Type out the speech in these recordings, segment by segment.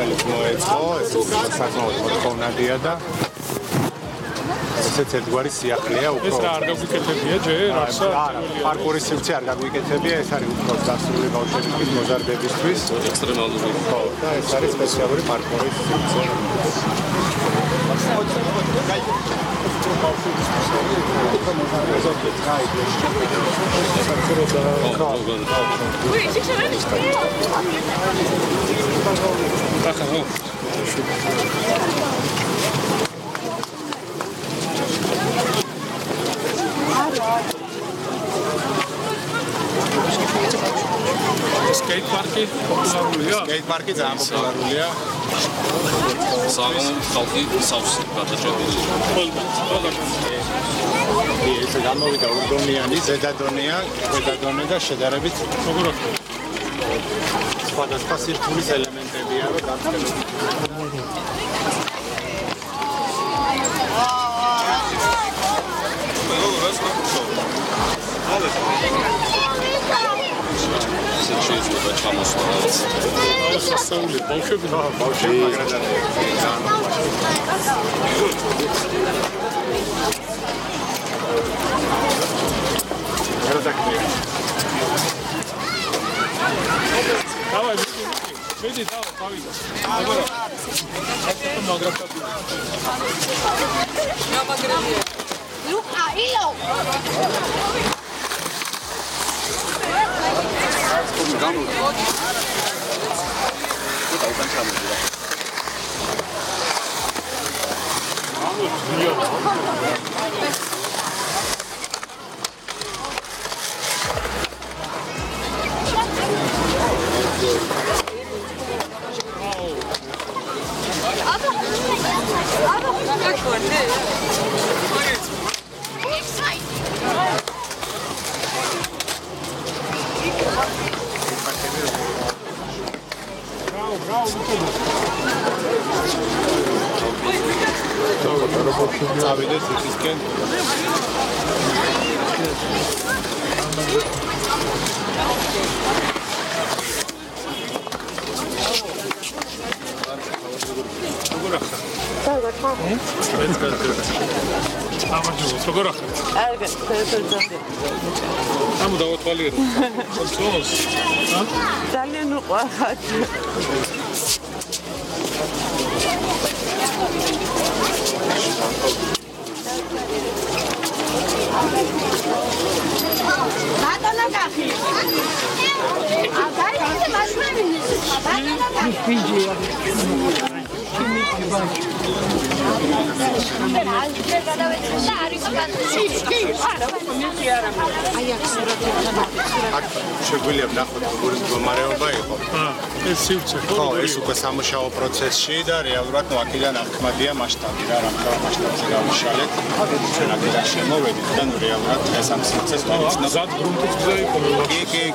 რომელიც მოეწყო, ეს საკმაოდ მოთხოვნადია და ესეც ერთგვარი სიახლეა უფრო. ეს რა არ გაგვიკეთებია ჯერ? არა, პარკურის სივრცე არ გაგვიკეთებია, ეს არის უფრო დასრული ბავშვებისთვის, მოზარდებისთვის. ექსტრემალური. ხო, და ეს არის სპეციალური პარკურის სივრცე. Skate parki პოპულარულია? Skate parki ძალიან პოპულარულია. საღამო ხალხი სავსე გადაჭედილი. ეს გამოვიდა ურდომიანი, ზედადონია, ქვედადონე და შედარებით როგორ სხვადასხვა სირთულის ელემენტებია და გამწევი. შეიძლება ჩამოსვლა. სასწაული ბავშვები მაგრამ დავай მიდი დავай გავიდა გამაგრებია ლუკა ილო წავიდეთ ისისკენ. როგორ ახლა? კარგი, ფერფერზე. ამ დავათვალიერო. კონტროლს. ძალიან უყვარხარ. ბატონო გახი. აგარი ისე მასშტაბის. ბატონო გახი. ფიჯია. შეგვიძლია ვნახოთ როგორი მდგომარეობა იყო. ეს სივრცე ხო, ეს უკვე სამუშაო პროცესში და რეალურად აქედან აღქმადია მასშტაბი რა, რამხელა მასშტაბზე გავიშალეთ. ჩვენ აქედან შემოვედით და რეალურად ეს ამ სივრცეს ზად გრუნტის გზა იყო.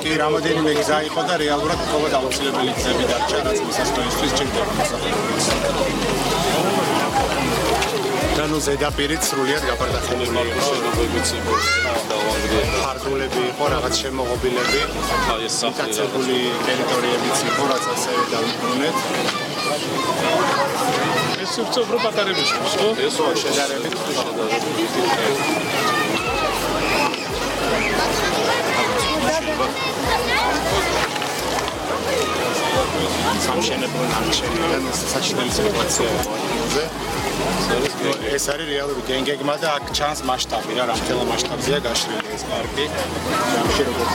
კი, რამოდენიმე გზა იყო და რეალურად მხოლოდ აუცილებელი გზები დარჩა, რაც მისასვლელისთვის ჭირდება მოსახლეობის. ანუ ზედაპირით სრულიად გაფართოებული იყო შენობებიც იყო დავანგრია. ფარდულები იყო, რაღაც შემოღობილები, ეს სახელი დაცებული ტერიტორიებიც იყო, რაც ასევე დავიბრუნეთ. ეს სივრცე უფრო პატარებიშ ხო? ეს შედარებით სამშენებლო ნარჩენიდან საჭიროა სიტუაცია იყო ადგილზე. ეს არის რეალური გენგეგმა და აქ ჩანს მასშტაბი რა, რამხელა მასშტაბზეა გაშლილი ეს პარკი. ამში როგორც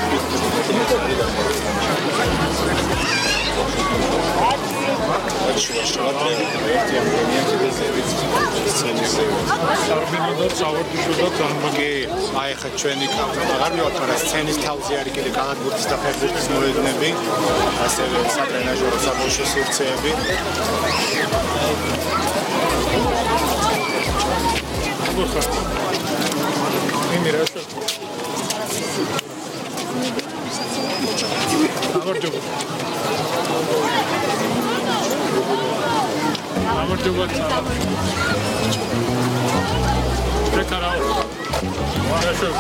სარბინო და წავარდიშო და დამბაგი. აი ხა ჩვენი აღარ მივაქვს, მაგრამ სცენის თავზე არის კიდე კალათბურთის და ფეხბურთის მოედნები, ასევე სატრენაჟერო საბავშვო სივრცეები. იმირაშო. გამარჯობა. გამარჯობა. ეკარაო. ვაშო.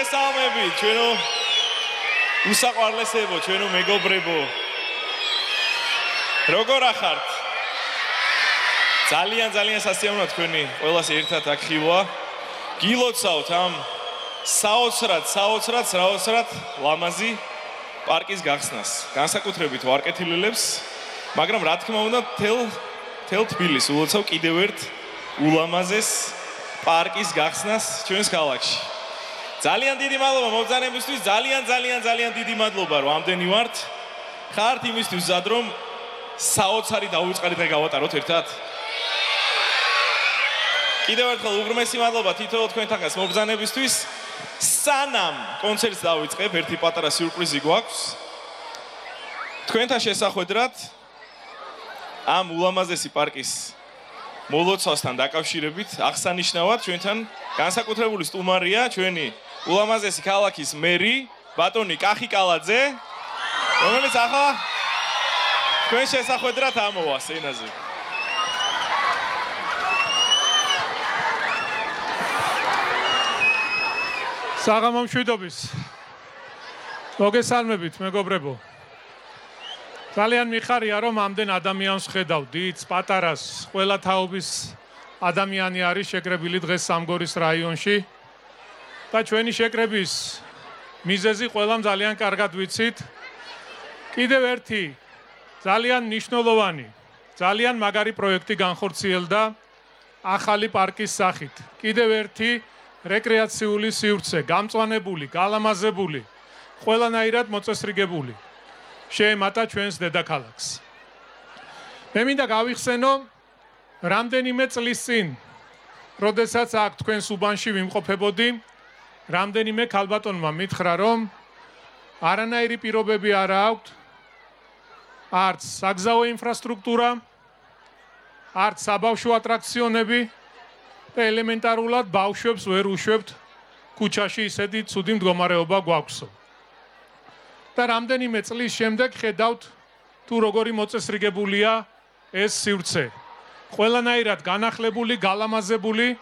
მოგესალმებით, ჩვენო უსაყვარლესებო, ჩვენო მეგობრებო. როგორ ახართ? ძალიან სასიამოვნოა თქვენი ყველას ერთად აქ ხილვა. გილოცავთ ამ საოცრად ლამაზი პარკის გახსნას. განსაკუთრებით ვარკეთილელებს, მაგრამ რა თქმა უნდა, თელ თბილისს ულოცავ კიდევ ერთ ულამაზეს პარკის გახსნას ჩვენს ქალაქში. ძალიან დიდი მადლობა მობრძანებისთვის, ძალიან დიდი მადლობა, რომ ამდენი ვართ. ხართ იმისთვის მზად, რომ საოცარი დაუწყარი დღე გავატაროთ ერთად. კიდევ ერთხელ უღრმესი მადლობა თითოეულ თქვენთანაც მობრძანებისთვის. სანამ კონცერტს დავიწყებ, ერთი პატარა სიურპრიზი გვაქვს. თქვენთან შესახვედრად ამ ულამაზესი პარკის მოლოცავსთან დაკავშირებით აღსანიშნავად ჩვენთან განსაკუთრებული სტუმარია ჩვენი ულამაზესი ქალაქის მერი ბატონი კახიკალაძე, რომელიც ახლა თქვენ შესახვედრად ამოვა სცენაზე. საღამო მშვიდობის. მოგესალმებით, მეგობრებო. ძალიან მიხარია, რომ ამდენ ადამიანს ხედავ, დიდს, პატარას, ყველა თაობის ადამიანი არის შეკრებილი დღეს სამგორის რაიონში. და ჩვენი შეკრების მიზეზი ყველამ ძალიან კარგად ვიცით. კიდევ ერთი ძალიან მნიშვნელოვანი, ძალიან მაგარი პროექტი განხორციელდა ახალი პარკის სახით. კიდევ ერთი რეკრეაციული სივრცე, გამწვანებული, გალამაზებული, ყველანაირად მოწესრიგებული. შეემატა ჩვენს დედაქალაქს. მე მინდა გავიხსენო რამდენიმე წლის წინ, როდესაც აქ თქვენს უბანში ვიმყოფებოდი, რამდენიმე ქალბატონმა მითხრა, რომ არანაირი პირობები არ აქვთ, არც საგზაო ინფრასტრუქტურა, არც საბავშვო ატრაქციონები და ელემენტარულად ბავშვებს ვერ უშვებთ ქუჩაში ისეთი ცუდი მდგომარეობა გვაქვსო. და რამდენიმე წლის შემდეგ ხედავთ თუ როგორი მოწესრიგებულია ეს სივრცე. ყველანაირად განახლებული, გალამაზებული,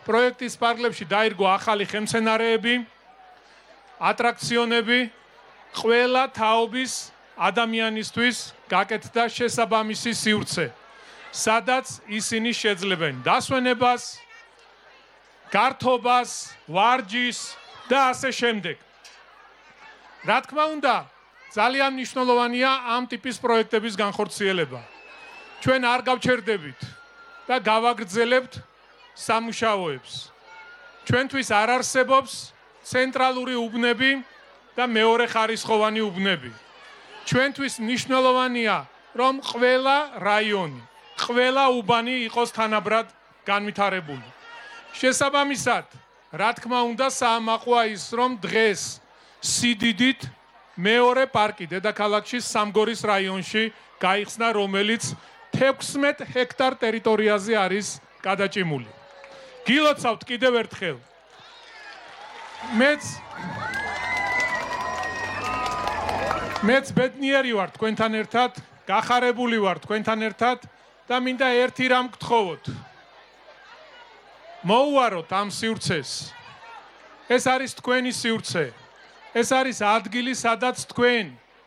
პროექტის პარკლებში დაირგო ახალი ხელმცენარეები, ატრაქციონები, ყველა თაობის ადამიანისთვის გაკეთდა შესაბამისი სივრცე, სადაც ისინი შეძლებენ დასვენებას, გართობას, ვარჯიშს და ასე შემდეგ. რა თქმა უნდა, ძალიან მნიშვნელოვანია ამ ტიპის პროექტების განხორციელება. ჩვენ არ გავჩერდებით და გავაგრძელებთ სამუშაოებს. ჩვენთვის არ არსებობს ცენტრალური უბნები და მეორე ხარისხოვანი უბნები. ჩვენთვის მნიშვნელოვანია, რომ ყველა რაიონი, ყველა უბანი იყოს თანაბრად განვითარებული. შესაბამისად, რა თქმა უნდა, საამაყოა ის, რომ დღეს სიდიდით მეორე პარკი დედაქალაქში სამგორის რაიონში გაიხსნა, რომელიც 16 ჰექტარ ტერიტორიაზე არის გადაჭიმული. გილოცავთ კიდევ ერთხელ. მეც ბედნიერი ვარ თქვენთან ერთად, გახარებული ვარ თქვენთან ერთად და მინდა ერთი რამ გთხოვოთ. მოუვაროთ ამ სივრცეს. ეს არის თქვენი სივრცე. ეს არის ადგილი, სადაც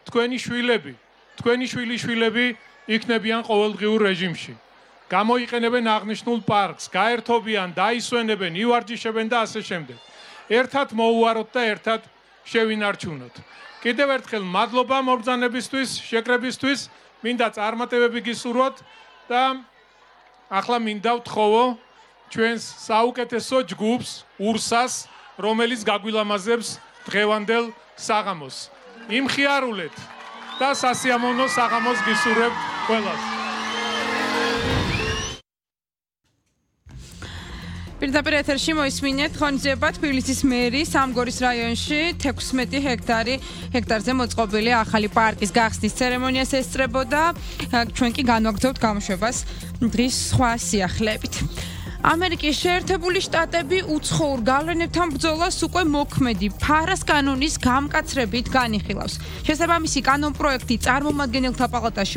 თქვენი შვილები, თქვენი შვილიშვილები იქნებიან ყოველდღიურ რეჟიმში. გამოიყენებენ აღნიშნულ პარკს, გაერთობიან, დაისვენებენ, ივარჯიშებენ და ასე შემდეგ. ერთად მოუვაროთ და ერთად შევინარჩუნოთ. კიდევ ერთხელ მადლობა მობრძანებისთვის, შეკრებისთვის, მინდა წარმატებები გისურვოთ და ახლა მინდა ვთხოვო ჩვენს საუკეთესო ჯგუფს, ურსას, რომელიც გაგვილამაზებს დღევანდელ საღამოს. იმხიარულეთ და სასიამოვნო საღამოს გისურვებთ ყველას. პირდაპირ ეთერში მოისმინეთ ღონისძიება თბილისის მერის სამგორის რაიონში 16 ჰექტარზე მოწყობილი ახალი პარკის გახსნის ცერემონიას ესწრებოდა. ჩვენ კი განვაგრძობთ გამოშვებას დღის სხვა სიახლეებით. ამერიკის შეერთებული შტატები უცხოურ გავლენებთან ბრძოლას უკვე მოქმედი ფარას კანონის გამკაცრებით განიხილავს. შესაბამისი კანონ პროექტი წარმომადგენელთა პალატაში